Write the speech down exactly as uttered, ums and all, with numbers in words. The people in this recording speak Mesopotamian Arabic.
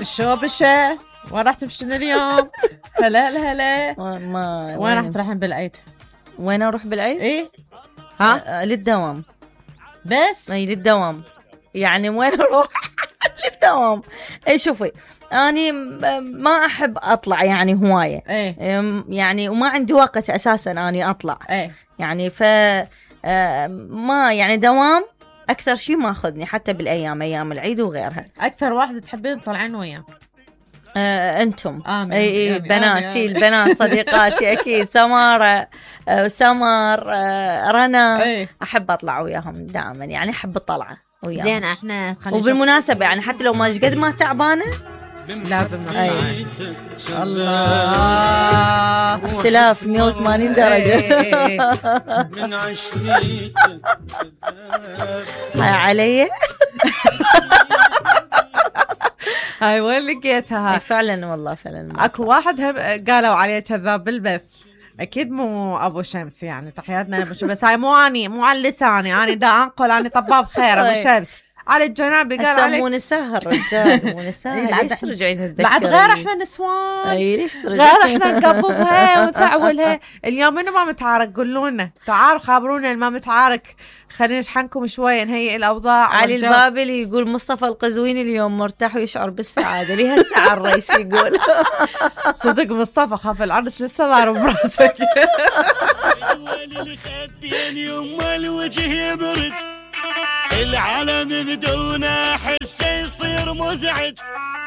شو بشه وين راح تمشين اليوم؟ هلا هلا. ما وين راح تروحين بالعيد؟ وين اروح بالعيد؟ ايه ها آه للدوام بس. اي للدوام يعني وين اروح؟ للدوام. اي شوفي اني ما احب اطلع يعني هوايه. ايه يعني وما عندي وقت اساسا اني اطلع. ايه يعني ف ما يعني دوام اكثر شيء ما اخذني حتى بالايام ايام العيد وغيرها. اكثر واحده تحبين تطلعين وياه؟ آه انتم آمين. اي اي يعني بناتي آمين. البنات صديقاتي اكيد سماره آه سمر آه رنا. أي. احب اطلع وياهم دائما يعني احب الطلعه وياهم. زين احنا خلينا وبالمناسبه يعني حتى لو ما قد ما تعبانه لازم نطلع. أي. الله اختلاف مية وثمانين درجه. من عشريتك هاي علي. هاي وين لقيتها؟ فعلا والله فعلا اكو واحد هم قالوا عليه كذاب بالبث. اكيد مو ابو شمس يعني تحياتنا لابو شمس بس هاي مو اني مو على لساني انا دا انقل اني طباب خير ابو شمس على الجنابي قال عليك مو نساء الرجال مو نساء. ليش ترجعين تذكرين بعد غير احنا نسوان. اي ليش ترجعين غير احنا نقببها ونفعولها. اليوم منو ما متعارك قولوا لنا تعال خابرونا ما متعارك خلينا نشحنكم شويه نهيئ الاوضاع. علي البابلي يقول مصطفى القزويني اليوم مرتاح ويشعر بالسعاده لي هالساعه الرئيس يقول. صدق مصطفى خاف العرس لسه ضارب براسك. اللي خدين يما الوجه يبرد العالم بدون احس يصير مزعج